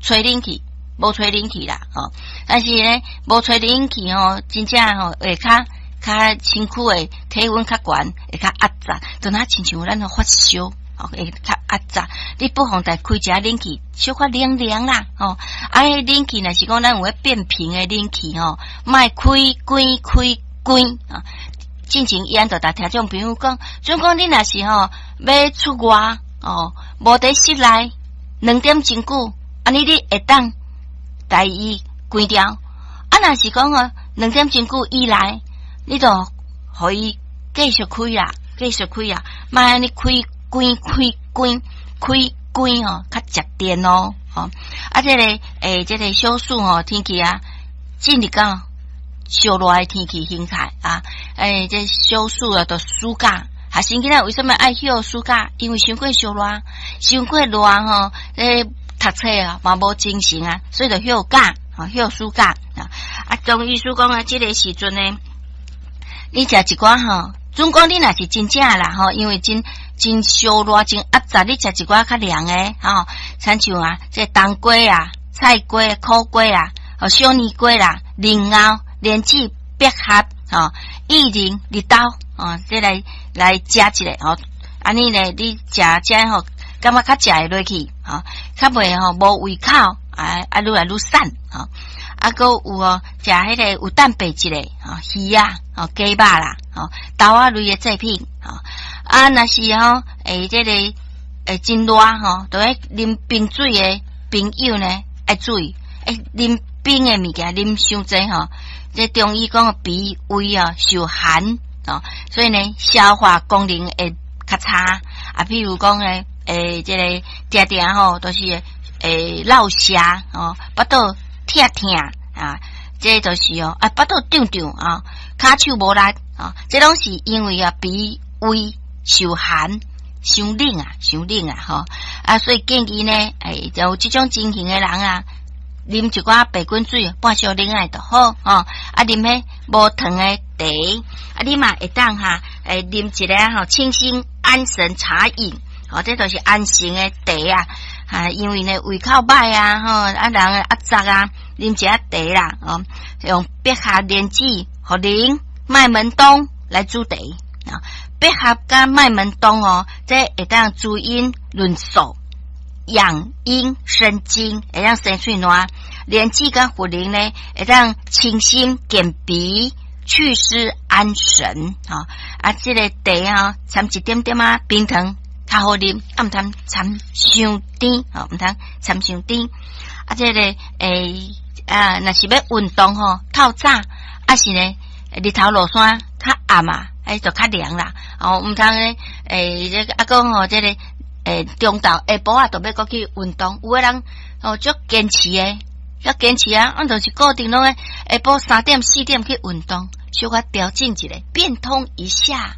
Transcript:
吹冷氣，無吹冷氣啦，吼。但是呢，無吹冷氣吼，真正吼會較較身軀的體溫較懸，會較壓榨，就若親像咱發燒，吼，會較壓榨。你不妨來開一下冷氣，小可涼涼啦，吼。啊，彼冷氣若是講咱有彼變頻的冷氣吼，莫開關開關啊。進前伊按就逐聽眾朋友講，準講你若是吼欲出外哦，無佇室內2點鐘久，按呢你會當共伊關掉。啊，若是講吼2點鐘久以來，你就予伊繼續開啦，繼續開啊，莫按呢開關開關開關吼，較食電哦，吼。啊，這個欸，這個小暑吼天氣啊，進入到燒熱的天氣形態啊，欸，這小暑啊，就暑假，學生囡仔為啥物愛歇暑假？因為傷過燒熱，傷過熱吼，欸，讀冊啊嘛無精神啊，所以就歇假，吼，歇暑假啊。啊，中醫師講啊，這個時陣呢，你食一寡吼，總講你若是真正啦吼，因為真真燒熱、真壓榨，你食一寡較涼的吼，親像啊，這冬瓜啊、菜瓜、苦瓜啊、小年瓜啦、蓮藕、蓮子、百合、吼、薏仁、綠豆，哦，這來來食一下吼，按呢呢，你食這吼，感覺較食會落去，吼，較袂吼無胃口，啊啊，愈來愈瘦，吼。啊，閣有哦，食彼個有蛋白質的，吼，魚啊，吼，雞肉啦，吼，豆仔類的製品，吼，啊，若是吼，欸，這個欸真熱吼，就愛啉冰水的朋友呢，愛注意，欸，啉冰的物件啉傷濟吼，這中醫講脾胃啊受寒，哦，所以呢，消化功能會較差，啊，譬如講呢，欸，這個定定吼，都是會落瀉，吼，腹肚疼疼啊，這就是哦，啊，腹肚脹脹啊，跤手無力啊，這攏是因為啊，脾胃受寒，傷冷啊，傷冷啊，吼啊，所以建議呢，欸，有這種情形的人啊，啉一寡白滾水，半小冷仔就好，吼，啊，啉彼無糖的茶，啊，你嘛會當哈，欸，啉一个吼清心安神茶飲，吼，這就是安神的茶啊，啊，因為呢胃口歹啊，吼，啊人壓榨啊，啉一下茶啦，哦，用百合、蓮子、茯苓、麥門冬來煮茶啊，百合佮麥門冬哦，這會當滋陰潤燥。養陰生津，會當生喙瀾；蓮子佮茯苓呢，會當清心健脾、祛濕安神。吼，啊，這個茶吼，摻一點點仔冰糖較好啉，啊，毋通摻傷甜，吼，毋通摻傷甜。啊，這個欸啊，若是欲運動吼，透早，啊是呢，日頭落山較暗啊，欸就較涼啦。哦，毋通呢，欸，這個啊講吼，這個。欸，中晝下晡仔，就欲閣去運動，有的人哦，足堅持的，足堅持啊，阮就是固定攏愛下晡3點4點去運動，小可調整一下，變通一下。